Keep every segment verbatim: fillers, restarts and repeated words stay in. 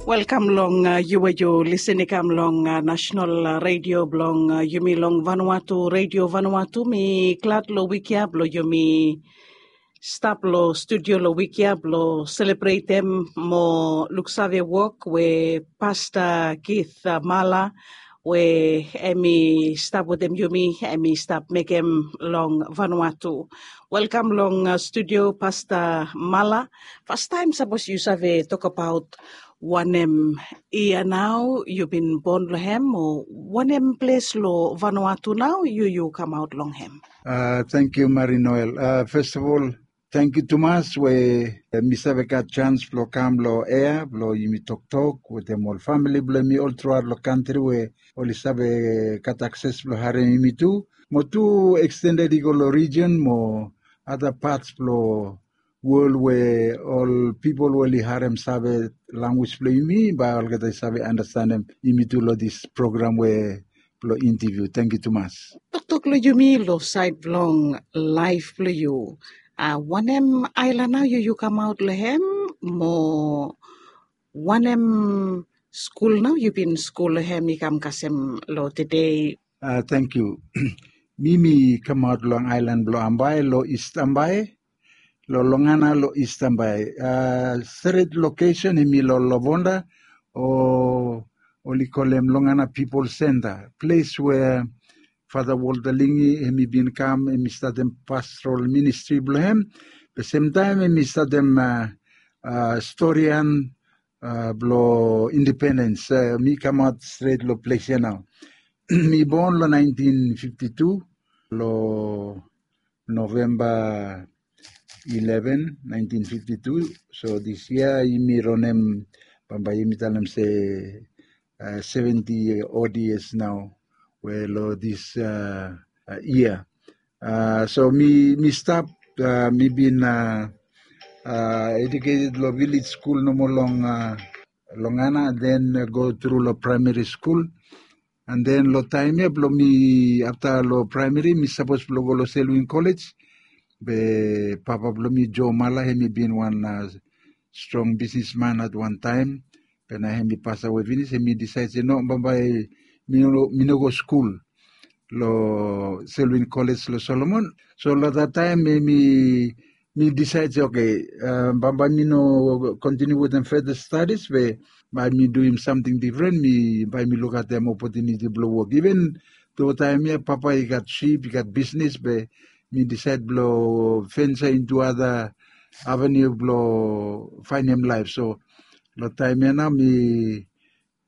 Welkam long uh, yu we yu lisin i kam long uh, national uh, radio blong uh, yumi long Vanuatu, Radio Vanuatu. Mi glad lo wik ya blo yumi stap lo studio lo wik ya blo selebretem mo luksave wok we Pasta Keith uh, Mala we em i stap wetem yumi, em i stap mekem long Vanuatu. Welkam long uh, studio, Pasta Mala. Fastaem, sapos yu save tokbaot wanem yia nao yu bin bon long hem, o wanem ples lo Vanuatu nao yu yu kamaot long hem? Uh, thank you, Marie Noel. Uh, first of all, thank you tumas we uh, mi save gat chance blo kam lo ea blo yumi toktok wetem ol famili blo mi ol throughout lo kantri we oli save gat akses blo harem yumi tu. Mo tu extended i go lo region mo other parts blo world we ol pipol we oli harem save language blo yumi, bae olgeta i save understandem yumi tu lo this program we blo interview. Thank you tumas. Toktok lo yumi lo side blong life blo yu. Uh, wanem island nao yu yu kamaot lo hem mo wanem skul nao yu bin skul lo hem i kam kasem lo today? Uh, thank you. Mi mi kamaot long island blo Ambae, lo East Ambae, lo Longana lo East Ambae. Uh, stret location em i lo Lovonda, o oli kolem Longana People Center, ples we Father Walter Lingi em i bin kam, em i statem pastoral ministri blo hem. Be semtaem em i statem uh, uh, storian uh, blo independens. Uh, mi kamaot stret lo ples ya nao. Mi bon lo nineteen fifty-two, lo November eleven, nineteen fifty-two. So this year yumi ronem, bambae yumi talem se uh, seventy odd years nao we lo this uh, uh, year. Uh, so mi mi stap, uh, mi bin uh, uh, educated lo village school nomo long uh, Longana, then uh, go through lo primary school. And then lo taem ya blo mi afta lo primary mi sapos blo go lo Selwyn College. Be papa blo mi, Joe Mala, hem i bin wan uh, strong businessman at one time. Be nao hem i pasawe finis, hem i disaed se no, bambae mi no, mi no go skul lo Selwyn College lo Solomon. So lo that time mi mi disaed se okay, uh, bambae mi no continue wetem further studies, be bae mi duim samting difren, mi bae mi lukaotem opportunity blo wok. Even though taem ya papa i gat sip, i gat bisnis, be mi disaed blo venture into other avenue blo faenem laef. So lo taem ya nao mi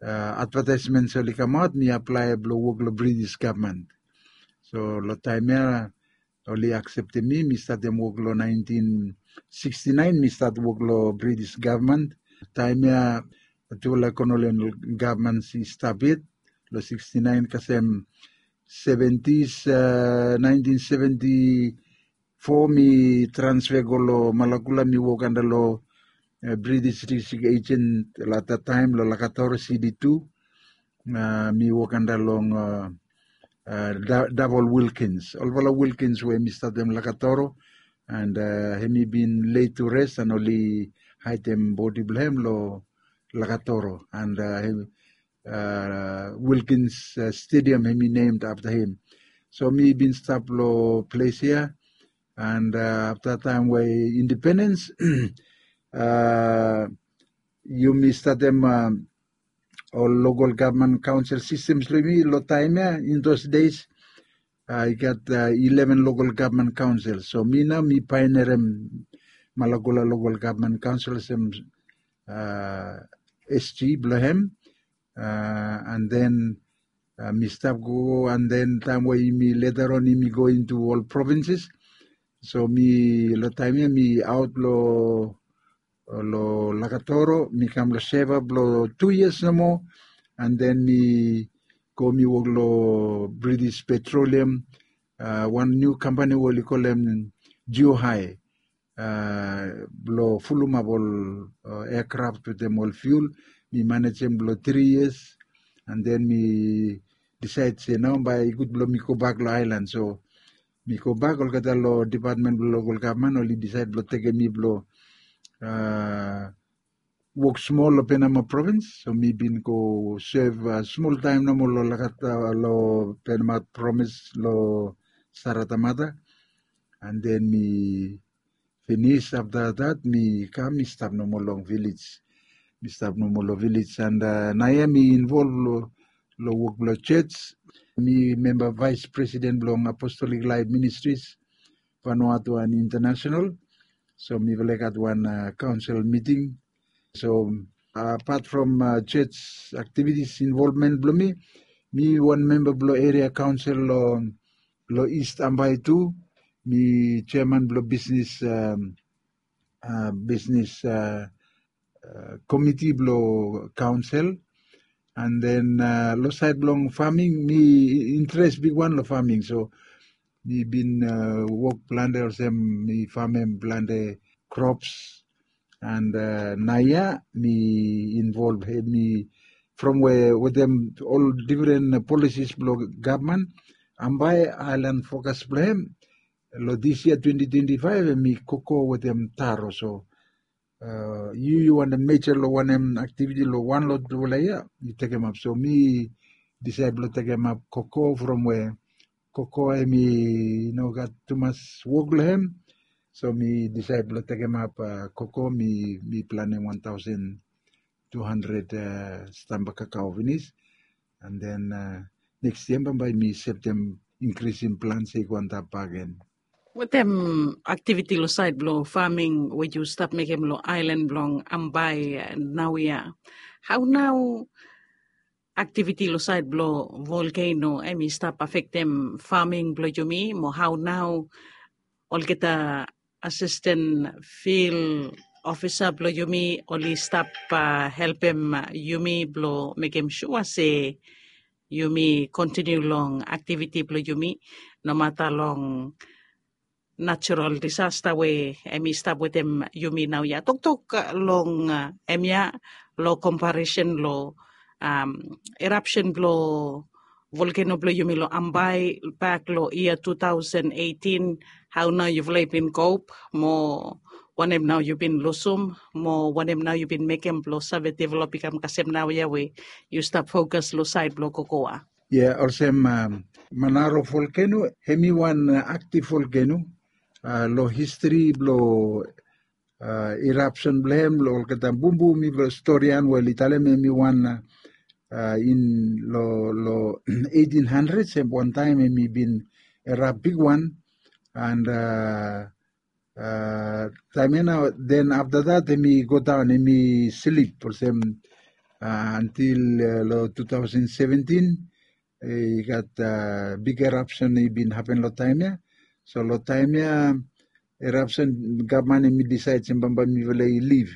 uh, advertisements oli kamaot, mi aplae blo wok lo British gavman. So lo taem ya oli akseptem mi, mi statem wok lo nineteen sixty-nine, mi stat wok lo British gavman. Taem ya tufala kolonial gavman i stap yet. Lo sixty-nine kasem seventies, uh, nineteen seventy-four mi transfer go lo Malakula, mi wok anda lo uh, British District Agent lo that time lo Lakatoro, C D two. Uh, mi wok anda long uh, uh, Double Wilkins. Olfala Wilkins we mi statem Lakatoro, and uh, hem i bin laid to rest and oli haedem bodi blo hem lo Lakatoro, and uh, hem, uh, Wilkins uh, Stadium hem i named afta hem. So mi bin stap lo ples ya, and uh, afta taem we independens, uh, yumi statem uh, ol local government council systems lo yumi lo taem ya. In those days uh, i gat uh, eleven local government council. So mi nao mi pioneerem Malakula Local Government Council olsem uh, S G blo hem. Uh, and then uh, mi stap gogo, and then taem we yumi later on yumi go into ol provinces. So mi lo taem ya mi aot lo lo Lakatoro, mi kam lo Seva blo tu yias nomo, and then mi go mi wok lo British Petroleum, uh, wan niu kampani we oli kolem Geohigh, uh, blo fulumap ol uh, aircraft wetem ol fuel. Mi manejem blo tri yias, and then mi disaed se nao bae i gud blo mi gobak lo aelan. So mi gobak, olgeta lo dipatmen blo lokal gavman oli disaed blo tekem mi blo uh, wok smol long Penama provins. So mi bin go sev smol taem nomo long Lakata, long Penama provins, long Saratamata. And then mi finis afta dat mi kam mi stap nomo long vilej. Mi stap nomo long vilej and naoia mi involv long wok blong jos. Mi memba vaes presiden blong Apostolic Life Ministries Vanuatu and International. So mifala i gat wan kaonsel miting. So apat from jos aktivitis involvmen blong mi, mi wan memba blong eria kaonsel long East Ambae tu. Mi jeaman blong bisnis, bisnis komiti blong kaonsel. And then long saed blong faming, mi interes bigwan long faming. So mi bin wok plante olsem mi famem plante krops. And naoia mi involv hem mi from we wetem ol difren polisis blong gavman, Ambae aelan fokas blong hem long dis yia twenti twenti faef hem i koko wetem taro. So yu yu wantem meja long wanem aktiviti long wan long tufala yia yu tekemap. So mi disaed blong tekemap koko from we koko hem i no gat tumas wok long hem. So mi disaed blong tekemap koko, mi planem wan taosen tu handred stamba kakao finis. And then neks yia bambae mi septem inkrisim plan se i go antap bakegen. Wetem aktiviti long saed blong faming we yu stap mekem long aelan blong Ambae naoia, hao nao aktiviti long saed blong volkeno hem i stap afektem faming blong yumi, mo hao nao olgeta asisten fil ofisa blong yumi oli stap helpem yumi blong mekem sua se yumi kontiniu long aktiviti blong yumi, nomata long natural disasta we hem i stap wetem yumi naoia. Toktok long hemia long komparesen long erapsen blong volkeno blong yumi long Ambae bak long yia tu taosen eitin. Hao nao yufala i bin kop, mo wanem nao yu bin lusum, mo wanem nao yu bin mekem blong save develop i kam kasem naoia we yu stap fokas long saed blong kokoa? Ia, olsem Manaro volkeno hem i wan aktiv volkeno long histri blong erapsen blong hem long olgeta bumbum i blong storian we oli talem hem i wan in long long eitin handred, sem wantaem hem i bin erap bigwan. And taem ya nao, then afta dat hem i godaon, hem i slip olsem antil long tu taosen seventin i gat big erapsen i bin hapen long taem ya. So long taem ya erapsen gavman hem i disaed se bambae mifala i liv.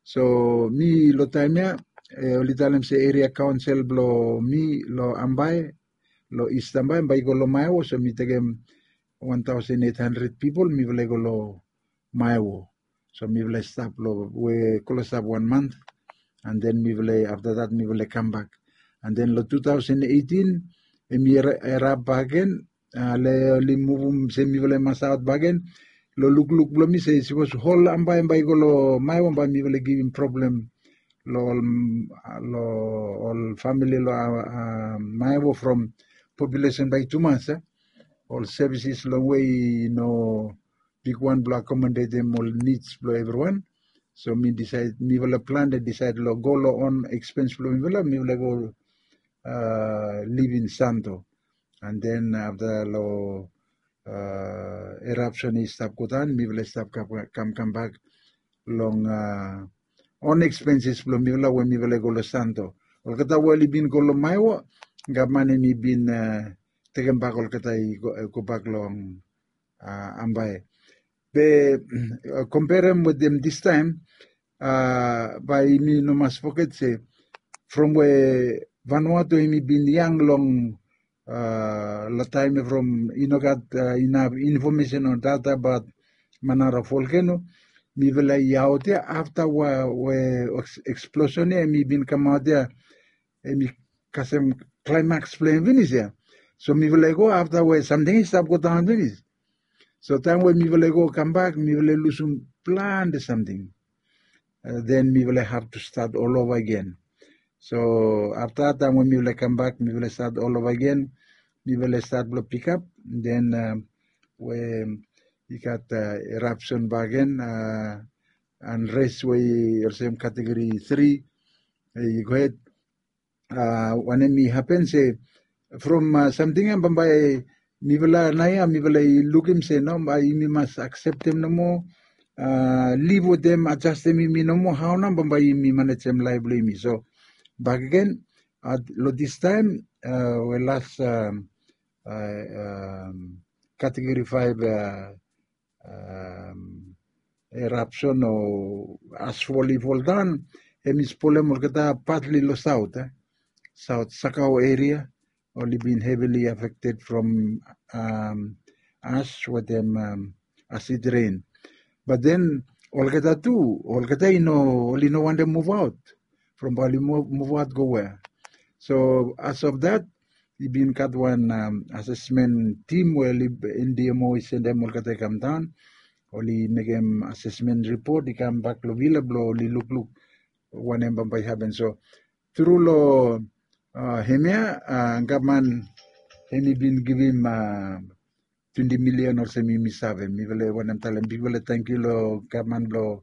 So mi long taem ya oli talem se eria kaonsel blong mi long Ambae, long East Ambae, bae i go long Maewo. So mi tekem wan taosen eit handred pipol, mifala i go long Maewo. So mifala i stap long we klosap wan mant. And then mifala i afta dat mifala i kambak. And then long tu taosen eitin hem i erap bakegen. Ale oli muvum se mifala i mas aot bakegen. Long lukluk blong mi se sipos hol Ambae bae i go long Maewo, bae mifala i givim problem long ol famili long Maewo from populesen bae i tumas. Ol sevises long we i no bigwan blong akomodetem ol nids blong evriwan. So mi disaed, mifala plante disaed long go long on ekspens blong mifala, mifala go liv in Santo. And then afta long erapsen i stap godaon, mifala i stap kam kambak long on ekspenses blong mifala we mifala i go long Santo. Olgeta we oli bin go long Maewo, gavman hem i bin tekembak olgeta i gobak long Ambae. Be komperem wetem distaem, bae yumi no mas foget se from we Vanuatu hem i bin yang long long taem ya from i no gat inaf infomesen o data abaot Manaro volkeno, mifala i aot ya afta we eksplosen ya hem i bin kamaot ya, hem i kasem klaemaks blong hem finis ya. So mifala i go afta we samting i stap godaon finis. So taem we mifala i go kambak mifala i lusum plante samting. then mifala have to start all over again. So afta taem we mifala kambak mifala start all over again. Mifala start blong pikap then we i gat eruption bakegen, unrest we i olsem category three i gohed. Wanem i hapen se from samting ya bambae mifala naoia mifala i lukim se no bae yumi mas akseptem nomo, liv wetem adjastem yumi nomo hao nao bambae yumi manejem laef blong yumi. So bakegen long distaem we las category five eruption o asfol i foldaon, hem i spolem olgeta patli long saot, saot Sakau eria oli bin heavily affected from ash wetem acid rain. But then olgeta tu olgeta i no, oli no wantem muvaot from bae oli muvaot go wea. So as of that i bin gat wan assessment team we oli, NDMO i sendem olgeta i kamdaon, oli mekem assessment report i kambak long vila blong oli lukluk wanem bambae i hapen. So tru long hemia gavman hem i bin givim twenti milian olsem yumi save. Mifala wanem talem bigfala tangkiu long gavman blong